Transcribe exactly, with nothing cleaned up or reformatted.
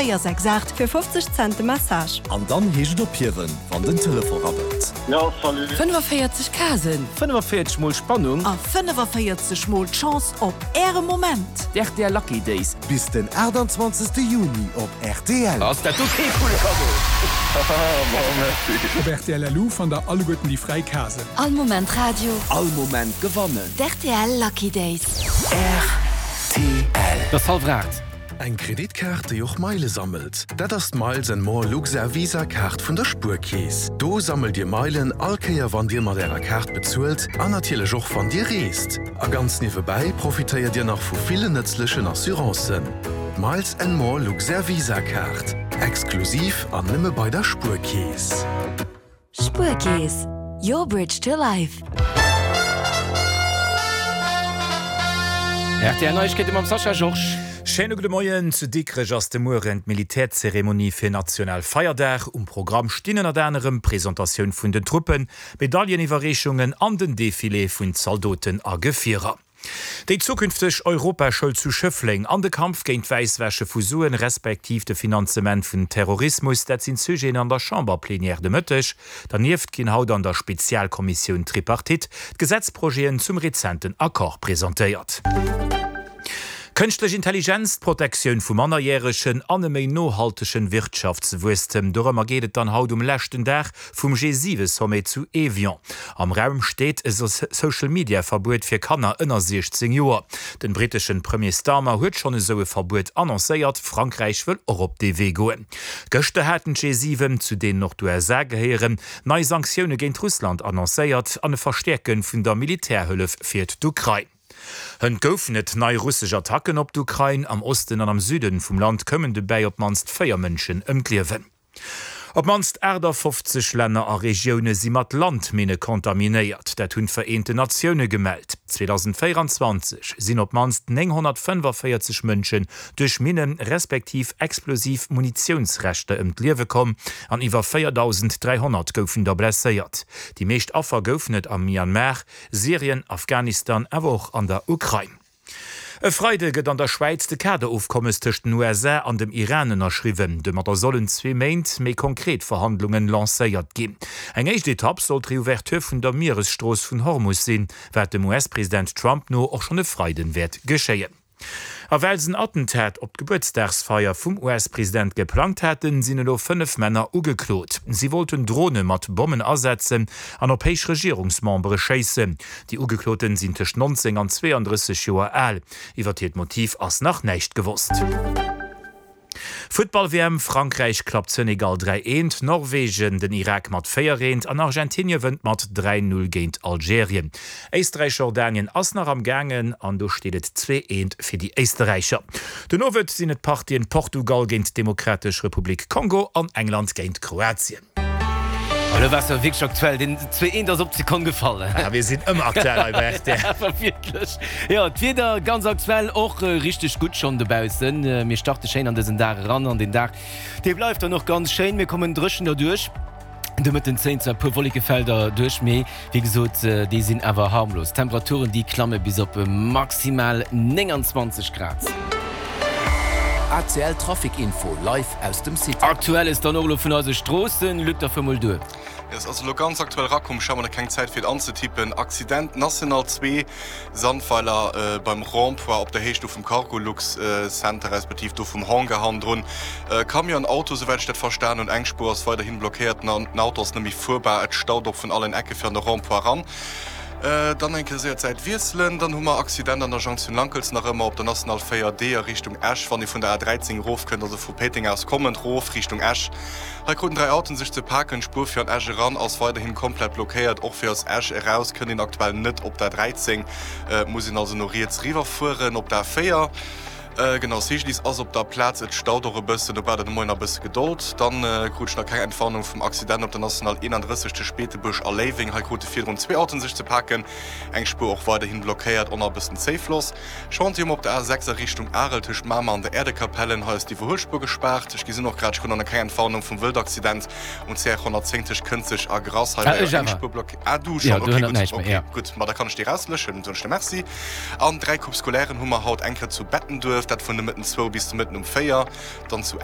véier sechs aacht fir fofzeg Cent de Message. An dann heescht et ophiewen, wann den Telefon rabbelt. Jo, salut. fënnefavéierzeg Casen. Fënnefavéierzeg mol Spannung. A fënnefavéierzeg mol d'Chance op Äre Moment. D'R T L Lucky Days. Bis den aachtanzwanzegste Juni op R T L. Ass dat do kee coole Cadeau? Haha, merci. Op R T L L U fannt der alleguerten déi fräi Casen. All Moment Radio. All Moment gewannen. D'R T L Lucky Days. R T L. Dat ass hallwer aacht. Eng Kreditkaart, déi och Meile sammelt. Dat ass d'Miles and More Luxair Visa Kaart vun der Spuerkeess. Do sammelt Dir Meilen all Kéier wann Dir mat Ärer Kaart bezuelt an natierlech och wann Dir reest. A ganz niewebäi profitéiert Dir nach vu villen nëtzlechen Assurancen. Miles and More Luxair Visa Kaart. Exklusiv an nëmme bei der Spuerkeess. Spuerkeess. Your bridge to life. R T L Neiegkeete mam Sascha Georges. Schéine gudde Moien. Zu Dikrech ass de Mueren d'Militärzeremonie fir national Feierdag. Um Programm stinn ënnert anerem Presentatioun vun den Truppen, Medailleniwwerreechungen an den Defilé vun Zaldoten a Gefierer. Déi zukünfteg Europaschoul zu Schëffleng an de Kampf géint d'Wäisswäsche vu Suen, respektiv de Finanzement vun Terrorismus, dat sinn d'Sujeten an der Chamberplenière de Mëtteg. Dernieft ginn haut an der Spezialkommissioun Tripartite d'Gesetzprojeten zum rezenten Accord presentéiert. Kënschtlech Intelligenz, d'Protektioun vu Mannerjäregen an e méi nohaltegen Wirtschaftswuesstem. Dorëmmer geet et dann haut um leschten Dag vum G siwe Sommet zu Evian. Am Raum steet e Social-Media-Verbuet fir Kanner ënner siechzéng Joer. Den britteschen Premier Starmer huet schonn esou e Verbuet annoncéiert, Frankräich wëll och op dee Wee goen. Gëschter haten d'G siwen, zu deenen och d'U S A gehéieren, nei Sanktioune géint Russland annoncéiert an e Verstäerke vun der Militärhëllef fir d'Ukrain. Hënt goufen et nei russesch Attacken op d'Ukrain. Am Osten an am Süden vum Land koumen dobäi op d'mannst véier Mënschen ëm d'Liewen. Op d'mannst aachtafofzeg Länner a Regioune si mat Landminne kontaminéiert. Dat hunn d'Vereenten Natioune gemellt. zweedausendvéieranzwanzeg sinn op d'mannst nénghonnertfënnefavéierzeg Mënschen duerch Minnen respektiv explosiv Munitiounsreschter ëm d'Liewe komm an iwwer véierdausend dräihonnert goufen der blesséiert. Déi meescht Affer goufen et am Myanmar, Syrien, Afghanistan awer och an der Ukrain. E Freide gëtt an der Schwäiz de Kaderofkommes tëscht den U S A an dem Iran ënnerschriwwen. Domadder sollen zwee Méint méi konkret Verhandlungen lancéiert ginn. Eng éischt Etapp soll d'Reouverture vun der Mieresstrooss vun Hormus sinn, wat dem U S-President Trump no och schonn e Freiden wäert geschéien. A well se en Attentat op d'Gebuertsdagsfeier vum U S-President geplangt haten, sinn elo fënnef Männer ugeklot. Si wollten Drone mat Bommen asetzen an op héich Regierungsmembere schéissen. Déi Ugekloten sinn tëscht nonzéng an zweeandrësseg Joer al. Iwwer hiert Motiv ass nach näischt gewosst. Futtball-W M: Frankräich klappt Senegal dräi eent, Norwegen den Irak mat véier eent an Argentinie wënnt mat dräi null géint Algerien. Éisträich-Jordanien ass nach am gaangen an do steet et zwee eent fir déi Éisterräicher. Den Owend sinn et d'Partien Portugal géint d'Demokratesch Republik Kongo an England géint Kroatien. Elo waars de wierklech aktuell, den zwee eent ass op d'Sekonn gefall. Ja, mir sinn ëmmer aktuell hei bei R T L. Awer wierklech. Jo, d'Wieder ganz aktuell och richteg gutt schonn dobaussen. Mir starte schéin an dësen Dag eran an den Dag dee bleift dann och ganz schéin. Mir kommen dréchen derduerch. De Mëtten zéien zwar e puer Wollekefelder duerch, mee wéi gesot, déi sinn awer harmlos. D'Temperaturen déi klamme bis op maximal nénganzwanzeg Grad. A C L Trafic Info live aus dem City. Aktuelles dann och elo vun eise Stroossen, Luc, da fuer mol duer. Et ass elo ganz aktuell rakomm, ech hat mol nach keng Zäit fir et anzetippen, Accident National zwee Sandweiler beim Rond-point op der Héicht do vum Cargolux Center respektiv do vum Hangar hannendrun. Camion, Auto, souwäit ech dat verstan hunn, eng Spuer ass weiderhin blockéiert, den Auto ass net méi fuerbar, et staut och vun allen Ecke fir an de Rond-point eran. Dann eng Kéier séier d'Säit wiesselen, dann hu mer Accident an der Jonction Lankelz nach ëmmer op der National véier D a Richtung Esch, wann ee vun der A dräizéng erofkënnt, also vu Péiteng aus kommend rof Richtung Esch. Hei kruten dräi Autoen sech ze paken, d'Spuer fir an Esch eran ass weiderhin komplett blockéiert, och fir aus Esch eraus kënnt een aktuell net op der dräizéng, et muss een also no riets riwwer fueren op der A véier. Genau, C G D I S ass op der Plaz, et staut och e bëssen, do braucht der de Moien nach e bësse Gedold. Dann krut ech nach keng Entwarnung vum Accident op der National eenandrësseg tëscht Beetebuerg a Léiweng. Hei krute virdrun zwee Autoen sech ze paken, eng Spuer och weiderhin blockéiert, och nach e bëssen Zéifloss. Chantier um op der A sechs a Richtung Arel tëscht Mamer an der Äerdekapellen, hei ass d'Iwwerhuelspuer gespaart. Ech gesinn och grad, ech krut nach keng Entwarnung vum Wëldaccident um C R honnertzéng tëscht Kënzeg a Grass, hei war jo eng Spuer blockéiert. Ah, du schonn, ok, gutt, ok, gutt, ma da kann ech déi erausläschen, soen ech der Merci. An dräi Coupe scolairen hu mer haut, eng Kéier zu Bettenduerf, dat vun de Mëtten zwou bis de Mëtten um véier, dann zu.